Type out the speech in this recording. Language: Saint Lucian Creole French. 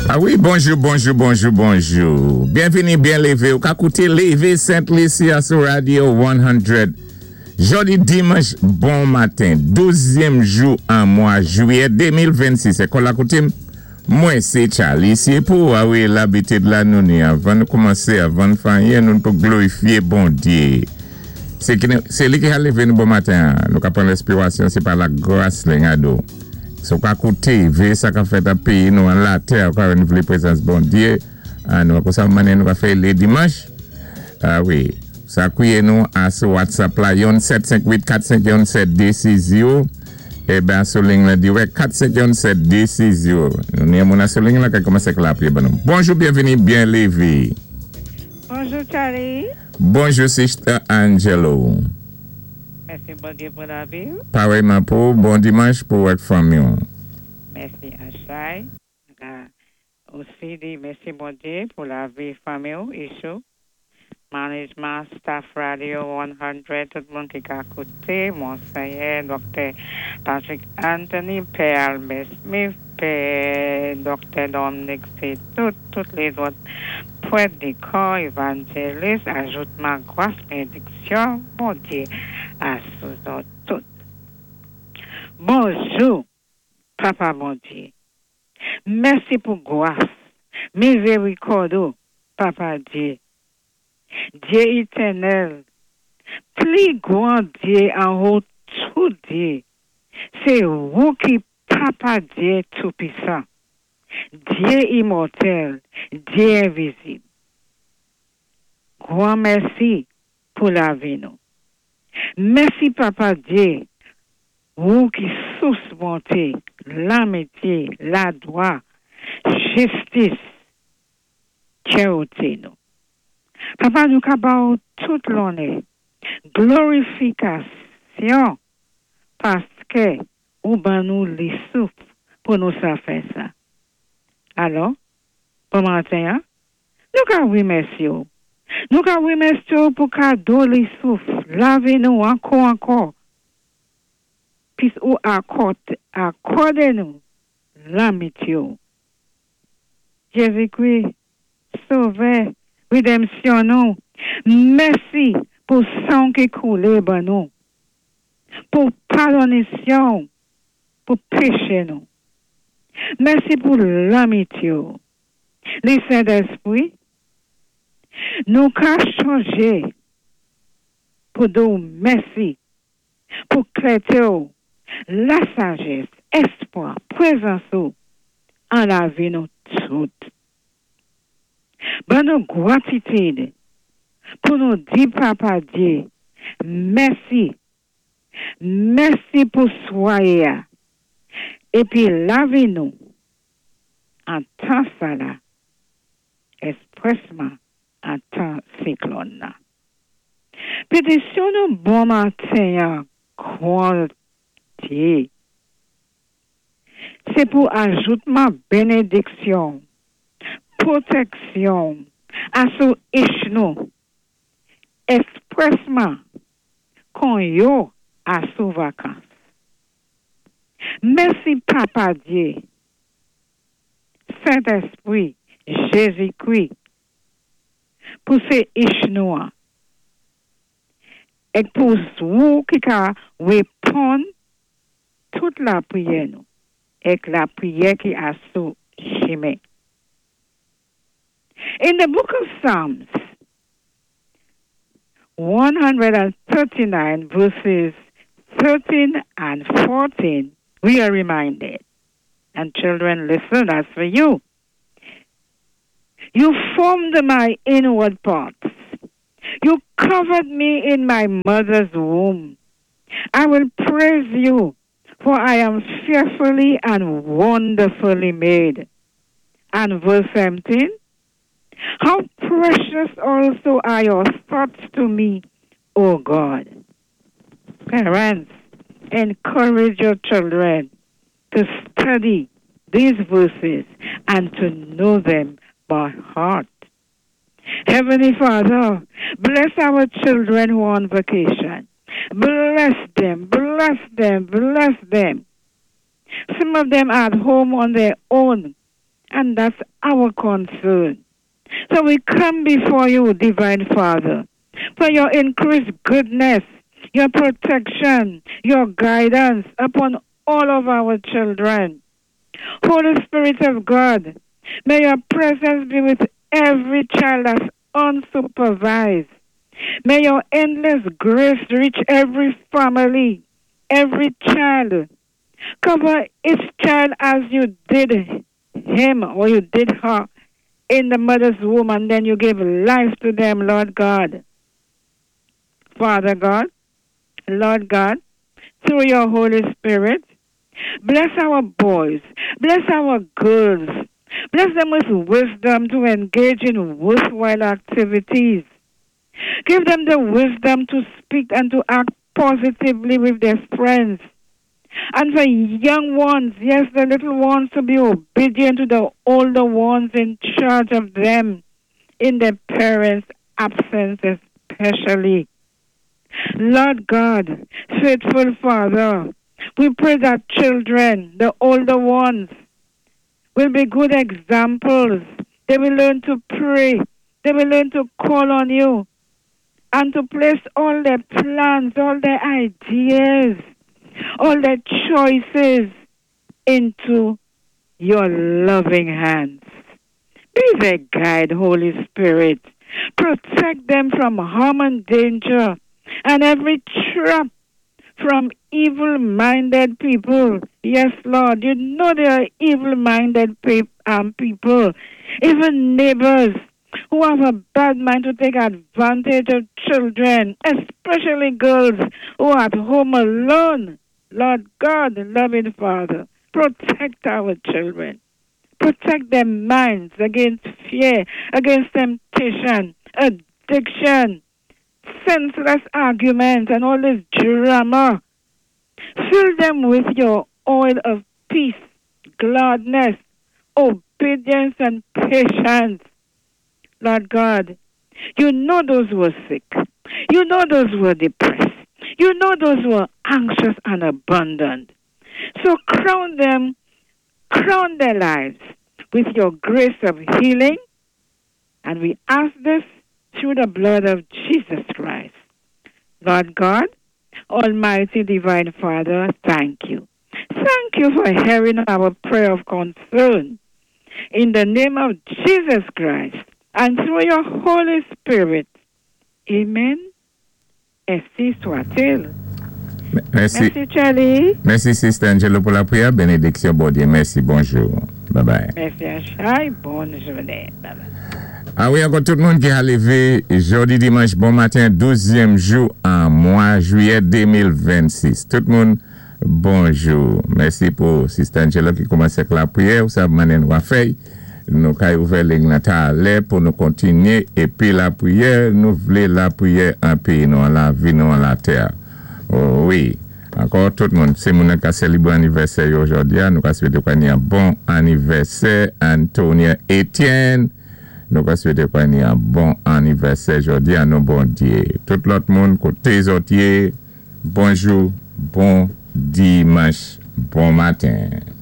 A wi, bonjou, bonjou, bonjou, bonjou. Byenvini, byen lévé. Ou ka kouté Lévé Sent Lisi a sou Radio 100. Jòdi dimanch bon maten, 12èm jou an mwa jwiyè 2026. É kon lakoutim, mwen sé Charlie Siepou. A wi, labitid la nou ni avan nou koumansé, avan fè anyen, nou pou glorifié Bondyé. Sé li ki ka lévé nou bon maten. Nou ka pran lespirasyon, sé pa lagras li gado. So ka kouté, véyé sa ka fèt a péyi nou an latè, ka renouvlé prezans Bondyé. A nou kon sa mannyè nou ka fè lé dimanch. A wi, sa kwiyé nou a sou WhatsApp la yon 758 451 7260. Eh ben sou ligne la direct 451 7260. Nou ni moun sou ligne la ki koumansé lapriyè ban nou. Bonjou, byenvini, byen lévé. Bonjou, Charlie. Bonjou, Sister Angelo. Mèsi, Bondyé, pou lavi. Parèyman pou bon dimanch pou wòt fanmi. Mèsi, Achay. Osi, di mèsi, Bondyé, pou lavi fanmi isou. Management, staff Radio 100, tout moun ki ka kouté, Monseyè, Dr. Patrick Anthony, Pè Albert Smith, Pè Dr. Dominic tout, tout lézòt prèt, dikon, évanjélis, ajoutman gwas, bénédiksyon, Bondyé, a sou nou tout. Bonjou, Papa Bondyé. Mèsi pou gwas, mizérikòd ou, Papa Dyé. Dyé étènèl, pli gwan Dyé anwo tout Dyé. Sé ou ki Papa Dyé Toupisan. Dyé imòtèl, Dyé envizib. Gwan mèsi pou lavi nou. Mèsi Papa Dyé, ou ki sous bonté, lamityé, ladwa, jistis, charité nou. Papa nou ka ba tout lonnè, glorifikasyon, paské ou ban nou li souf pou nou sa fè sa. Alò, pou maten, nou ka wimèsyé ou. Nou ka wimèsyé ou pou kado li souf, lavi nou ankò ankò. Pis ou akòdé nou lamityé ou. Jézi-Kri, Sovè, rédanmsyon nou, mèsi pou san ki koulé ban nou, pou padonisyon, pou péché nou. Mèsi pou lamityé ou. Li Sentespwi, nou ka chanjé pou di ou mèsi, pou klèté ou, lasajès, espwa, prezans ou, an lavi nou tout. Ban nou gratitid pou nou di Papa Dyé, mèsi, mèsi pou swayé épi lavi nou an tan sa la, èsprèsman an tan siklòn nan. Pétisyon nou bon maten gwan Dyé. Sé pou ajoutman bénédiksyon, pwotèksyon, asou ich nou, èsprèsman kon yo asou vakans. Mèsi Papa Dyé, Sentespwi, Jézi-Kri, pou sé ich nou an. É pou ou ki ka wéponn tout lapriyè nou, èk lapriyè ki asou chimen. In the book of Psalms, 139 verses 13 and 14, we are reminded. And children, listen, that's for you. You formed my inward parts. You covered me in my mother's womb. I will praise you, for I am fearfully and wonderfully made. And verse 17, how precious also are your thoughts to me, O God. Parents, encourage your children to study these verses and to know them by heart. Heavenly Father, bless our children who are on vacation. Bless them, bless them, bless them. Some of them are at home on their own. And that's our concern. So we come before you, Divine Father, for your increased goodness, your protection, your guidance upon all of our children. Holy Spirit of God, may your presence be with every child that's unsupervised. May your endless grace reach every family, every child. Cover each child as you did him or you did her in the mother's womb, and then you gave life to them, Lord God. Father God, Lord God, through your Holy Spirit, bless our boys, bless our girls, bless them with wisdom to engage in worthwhile activities. Give them the wisdom to speak and to act positively with their friends. And for young ones, yes, the little ones, to be obedient to the older ones in charge of them, in their parents' absence especially. Lord God, faithful Father, we pray that children, the older ones, will be good examples. They will learn to pray. They will learn to call on you and to place all their plans, all their ideas, all their choices into your loving hands. Be their guide, Holy Spirit. Protect them from harm and danger and every trap from evil minded people. Yes, Lord, you know there are evil minded people, even neighbors who have a bad mind to take advantage of children, especially girls who are at home alone. Lord God, loving Father, protect our children. Protect their minds against fear, against temptation, addiction, senseless arguments, and all this drama. Fill them with your oil of peace, gladness, obedience, and patience. Lord God, you know those who are sick. You know those who are depressed. You know those who are anxious and abandoned. So crown them, crown their lives with your grace of healing. And we ask this through the blood of Jesus Christ. Lord God, Almighty Divine Father, thank you. Thank you for hearing our prayer of concern. In the name of Jesus Christ and through your Holy Spirit. Amen. Ainsi soit-il. Mèsi. Mèsi, Charlie. Mèsi, Sister Angelo, pou lapwiyè. Bénédiksyon, Bondyé. Mèsi, bonjou. Bye bye. Mèsi, Achai. Bòn jounen. Bye bye. A wi, ankò tout moun ki a lévé jòdi dimanch bon maten, 12èm jou an mwa jwiyè 2026. Tout moun, bonjou. Mèsi pou Sister Angelo ki koumansé ak lapwiyè. Ou sav mannè nou a fè'y. Nou kay ouvè liy la talè pou nou kontinyé épi lapwiyè, nou vlé lapwiyè an péyi nou an lavi nou an latè. Oh, wi. Ankò tout moun, si moun ka sélébré anivèsè yo jòdi a, nou ka swété kwa ni an bon anivèsè Antonia Etienne. Nou ka swété kwa ni an bon anivèsè jòdi a non Bondyé. Tout lòt moun koté zòt yé, bonjou, bon dimanch, bon maten.